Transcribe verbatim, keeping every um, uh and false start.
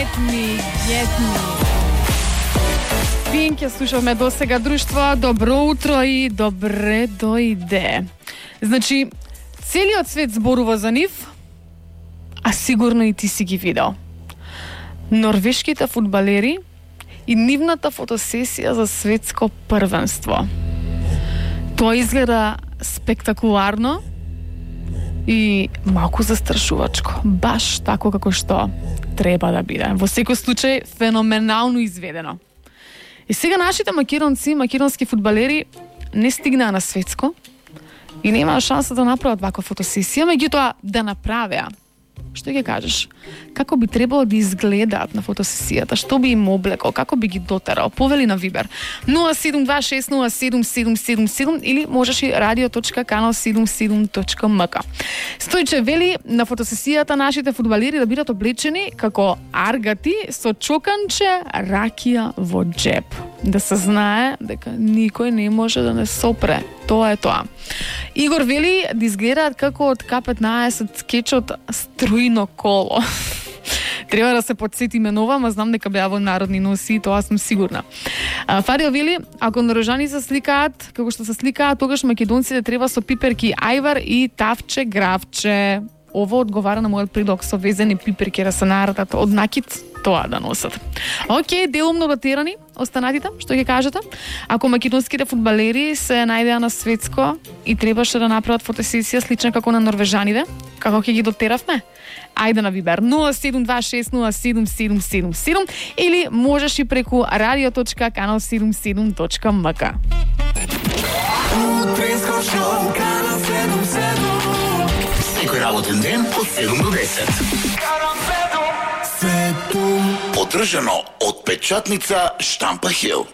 Get me, get me. Пинк ја слушавме до сега, друштво. Добро утро и добре дојде. Значи, целиот свет зборува за нив, а сигурно и ти си ги видел. Норвешките фудбалери и нивната фотосесија за светско првенство. Тоа изгледа спектакуларно и малку застрашувачко. Баш тако како што треба да биде. Во секој случај, феноменално изведено. И сега нашите македонци, македонски фудбалери не стигнаа на светско и немаа шанса да направат ваква фотосесија, меѓутоа да направеа. Што ќе кажеш? Како би требало да изгледаат на фотосесијата? Што би им облекол? Како би ги дотерал? Повели на Вибер нула седум два шест нула седум седум седум седум или можеш и радио точка канал седумдесет и седум точка ем ка. Стојче вели на фотосесијата нашите фудбалери да бидат облечени како аргати со чоканче ракија во джеб. Да се знае дека никој не може да не сопре. Тоа е тоа. Игор вели да изгледаат како од К петнаесет скечот Струјно коло. Треба да се подсетиме нова, ма знам дека беа во народни носи, тоа сум сигурна. Фарио вели, ако норвежани се сликаат, како што се сликаат, тогаш македонците треба со пиперки ајвар и тавче гравче. Ово одговара на мојот предлог со везени пиперки да се нарадат од накид, тоа да носат. Океј, делумно ротерани, останатите, што ќе кажете? Ако македонските фудбалери се најдеа на светско и требаше да направат фотосесија слична како на норвежаните, како ќе ги дотеравме? Ајде на Вибер нула седум два шест нула седум седум седум седум или можеш и преку радио точка канал седумдесет и седум точка ем ка. Секој работен ден од седум до десет. Поддржано од печатница Штампа Хил.